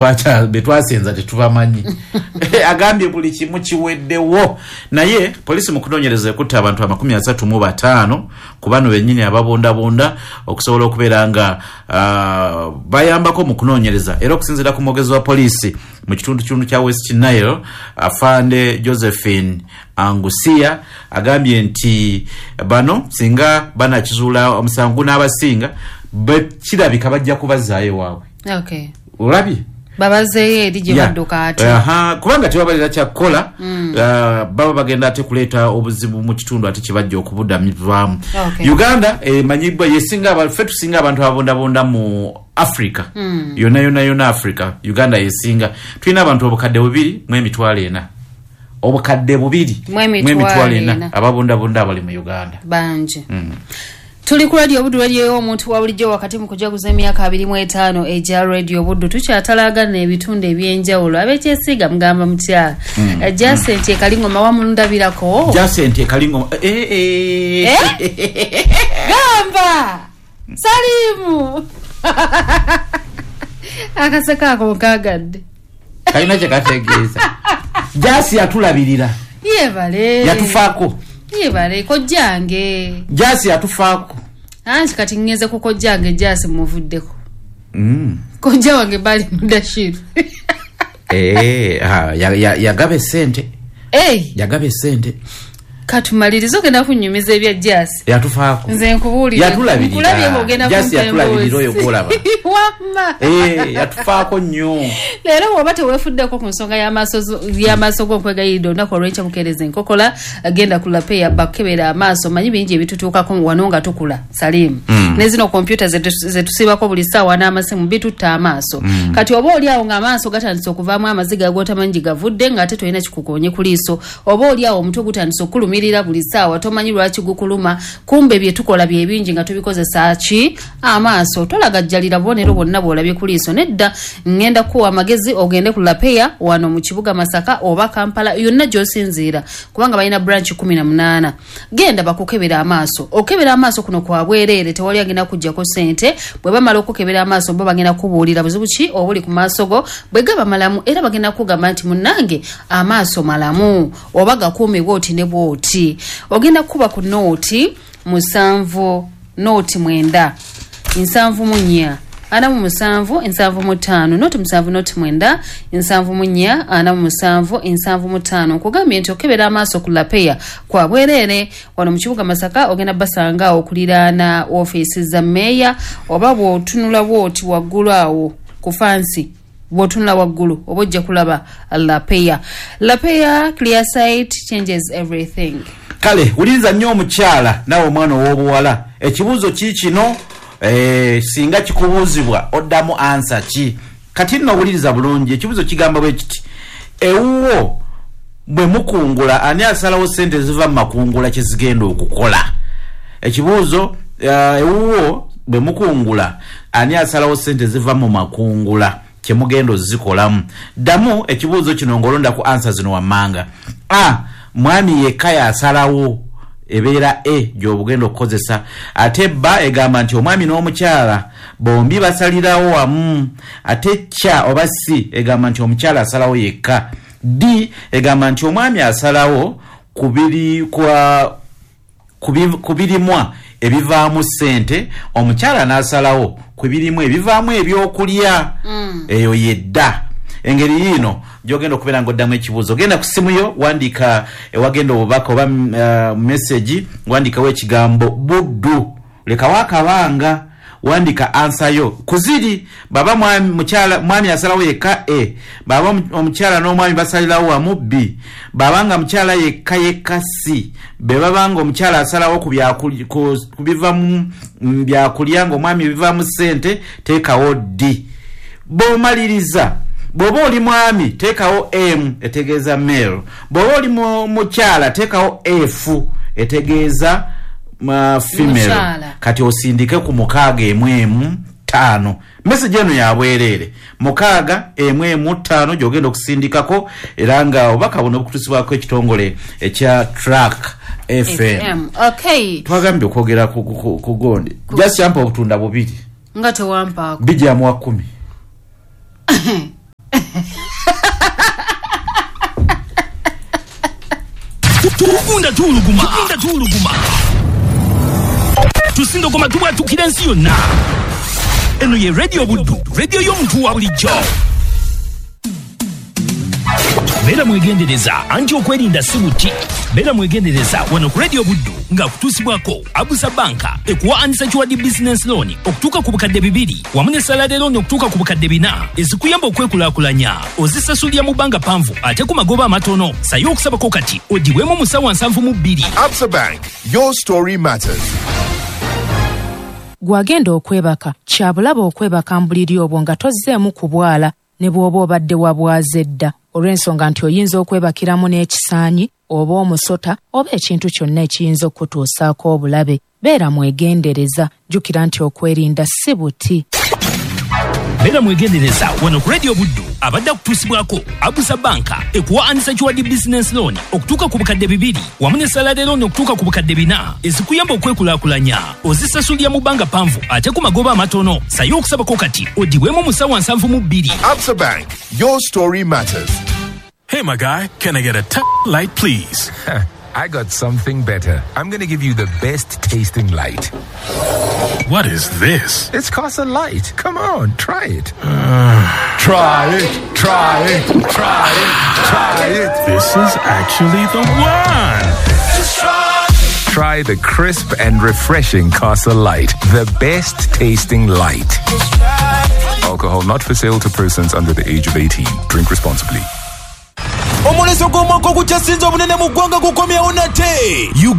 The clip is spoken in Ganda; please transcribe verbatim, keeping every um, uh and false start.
Betwasenza tetubamanyi. Agambye buli kimu kiweddewo, naye poliisi mu kunoonyereza ekutta abantu amakumi asatu mu bataano ku bano bennyini ababundabunda okusobola okubeera nga uh, bayambako mu kunoonyereza. Era okusinziira ku mwogezi wa poliisi mu kitundu kitundu kya West Nile, Afande Josephine Angusia, agambye nti bano singa banakizuula omusango gunaabasinga, kirabika bajja kubazzaayo waabwe. Okay. Olabye? Babazeeyo eri gye badduka ate. Aha, kubanga tebabalira kyakukola, mm. uh, baba bagenda ate kuleeta obuzibu mu kitundu ate kibajja okubudamivaamu. Okay. Uganda emanyibwa yesinga, ffe tusinga abantu ababundabunda mu Africa. Mm. Yonna yonna yonna Africa, Uganda yesinga. Tulina abantu obukadde bubiri mu emitwalo ena. Obukadde bubiri mu emitwalo ena ababundabunda abali mu Uganda. Bangi. Mm. Tuli ku Radio Buddu, radio omuntu wa bulijjo, wakati mu kujaguza emyaka abiri mu etaano egya Radio Buddu. Tukyatalagana ebitundu ebyenjawulo. Abekyesiga mugamba mutya? Mm. Jacent Ekalingoma wamundabirako. Jacent Ekalingoma, eh, eh. Eh? Gamba Salimu akaseka ako nkagadde. Kalina kye kategeeza. Jasi yatulabirira. Yebale. Yatufaako. Yebale kojjange. Jasi yatufaako. Anti kati ngenze ku kojjange, Jasi muvuddeko. Mm. Kojja wange bali Mudashiru. Eh, ha, yagaba essente. Hey. Yagaba essente. Katumalirize ogenda kunnyumiza ebya Jasi. Yatufaako. Nze nkubuulira. Yatulabirira. Nkulabye ng'ogenda Jasi kumpa yatulabirira oyo emboozi. gw'olaba. Wamma. Eh, yatufaako nnyo. Leero bw'oba teweefuddeko ku nsonga y'amaaso y'amaaso go, nkwegayiridde olunaku olw'enkya bukeereza enkokola, genda ku Lapeya bakukebera amaaso. Manyi bingi ebitutuukako wano nga tukula, Salimu. Mm. Ne zino kompyuta zetusiibako buli ssaawa n'amasimu bitutta amaaso. Mm. Kati oba oli awo ng'amaaso gatandise okuvaamu amaziga g'otamanyi gye gavudde ng'ate tolina kikukoonye ku liiso, oba oli awo omutwe gutandise okulumirira buli ssaawa, tomanyi lwaki gukuluma, kumbe bye tukola bye bingi nga tubikozesa ki amaaso. Tolagajjalira bubonero bwonna bw'olabye ku liiso, nedda. Ŋŋenda kukuwa amagezi ogende ku Lapeya wano mu kibuga Masaka oba Kampala yonna gy'osinziira, kubanga balina branch kumi na munaana. Genda bakukebera amaaso. Okebera amaaso kuno kwa bwereere, tewali agenda kuggyako ssente. Bwe bamala okukebera amaaso, bo bagenda kubuulira buzibu ki obuli ku maaso go. Bwe gaba malamu, era bagenda kugamba nti munnange amaaso malamu oba gakuume bw'oti ne bw'oti. Ogenda kukuba ku nooti musanvu nooti mwenda nsanvu mu nnya ana mu musanvu nsanvu mu ttaano, nooti musanvu nooti mwenda nsanvu mu nnya ana mu musanvu nsanvu mu ttaano. Nkugambye nti okebera amaaso ku Lapeya kwa bwereere wano mu kibuga Masaka. Ogenda basanga awo okuliraana ofiisi za mmeeya, oba bw'otunula bw'oti waggulu awo ku fansi, bw'otunula waggulu oba ojja kulaba Lapeya. Lapeya, clear sight changes everything. Kale wuliriza nnyo omukyala naawe omwana ow'obuwala. Ekibuuzo ki kino, eh, singa kikubuuzibwa oddamu answer ki? Kati nno wuliriza bulungi, ekibuuzo kigamba bwe kiti: ewuwo bwe mukungula, ani asalawo ssente ziva mu makungula kye zigenda okukola? Ekibuuzo, eh, ewuwo bwe mukungula, ani asalawo ssente ziva mu makungula kye mugenda ozikolamu? Ddamu ekibuuzo kino ng'olonda ku answer zino wammanga. A, mwami yekka yasalawo, ebeera e gy'obugenda okukozesa. Ate ba egamba nti omwami n'omukyala bombi basalirawo wamu. Ate kya oba c egamba nti omukyala asalawo yekka. D egamba nti omwami asalawo ku biri kwa ku birimwa ebivaamu ssente, omukyala n'asalawo ku birimu ebivaamu ebyokulya. Mm. Eyo yedda engeri yiino gyogenda okubeera ng'oddamu ekibuuzo. Genda ku simu yo, wandiika ewagenda obubaka oba uh, message, wandikawo ekigambo "Buddu", lekawo akabanga, wandika answer yo kuziri baba mwami, mukyala, mwami asalawo yekka a, baba omukyala n'omwami basalirawo wamu b, baba nga mukyala yekka yekka c, be baba nga omukyala asalawo ku ku biva mu byakulya ng'omwami bivaamu ssente, teekawo d. Bw'omaliriza, bw'oba oli mwami teekawo m etegeeza male, bw'oba oli mukyala teekawo f etegeeza uh, female. Mukyala. Kati osindike ku mukaaga emu emu ttaano. Message eno yabwereere, mukaaga emu emu ttaano gyogenda okusindikako, era nga obubaka buno bukutusibwako ekitongole ekya Track F M. F M. Okay. Twagambye okwogera ku, ku, ku gondi. Just yampa obutunda bubiri. Nga tewampaako. Bijjamu wa kumi. Tugenda tuwuluguma, tugenda tuwuluguma, tusindogoma, tubwatukira ensi yonna. Eno ye Radio Buddu, radio y'omuntu wa bulijjo. Beera mwegendereza, anti okwerinda si buti. Beera mwegendereza wano ku Radio Buddu, nga kutuusibwako Absa Banka, ekuwa unsecured business loan okutuuka ku bukadde bibiri wamu ne salary loan okutuuka ku bukadde bina, ezikuyamba okwekulaakulanya. Ozisasulira mu bbanga panvu ate ku magoba amatono. Sayo okusabako kati ogibwemu mu ssaawa nsanvu mu bbiri. Absa Bank, your story matters. Gwagenda okwebaka, kyabulaba okwebaka mu buliri obwo nga tozzeemu kubwala ne bw'oba obadde wabwaze dda, olw'ensonga nti oyinza okwebakiramu n'ekisaanyi oba omusota oba ekintu kyonna ekiyinza okukutuusaako obulabe. Beera mwegendereza, jjukira nti okwerinda si buti. Beera mwegendereza wano ku Radio Buddu, abadde akutuusibwako Absa Banka, ekuwa unsecured business loan okutuuka ku bukadde bibiri wamu ne salary loan okutuuka ku bukadde bina, ezikuyamba okwekulaakulanya. Ozisasulira mu bbanga panvu ate ku magoba amatono. Sayo okusabako kati ogibwemu mu ssaawa nsanvu mu bbiri. Absa Bank, your story matters. Hey, my guy, can I get a t- light, please? I got something better. I'm going to give you the best tasting light. What is this? It's Casa Light. Come on, try it. Try it, try it, try it, try it. This is actually the one. Try the crisp and refreshing Casa Light, the best tasting light. Alcohol not for sale to persons under the age of eighteen. Drink responsibly. Omwoleso gw'omwaka ogukyasinze obunene mu ggwanga gukomyewo nate.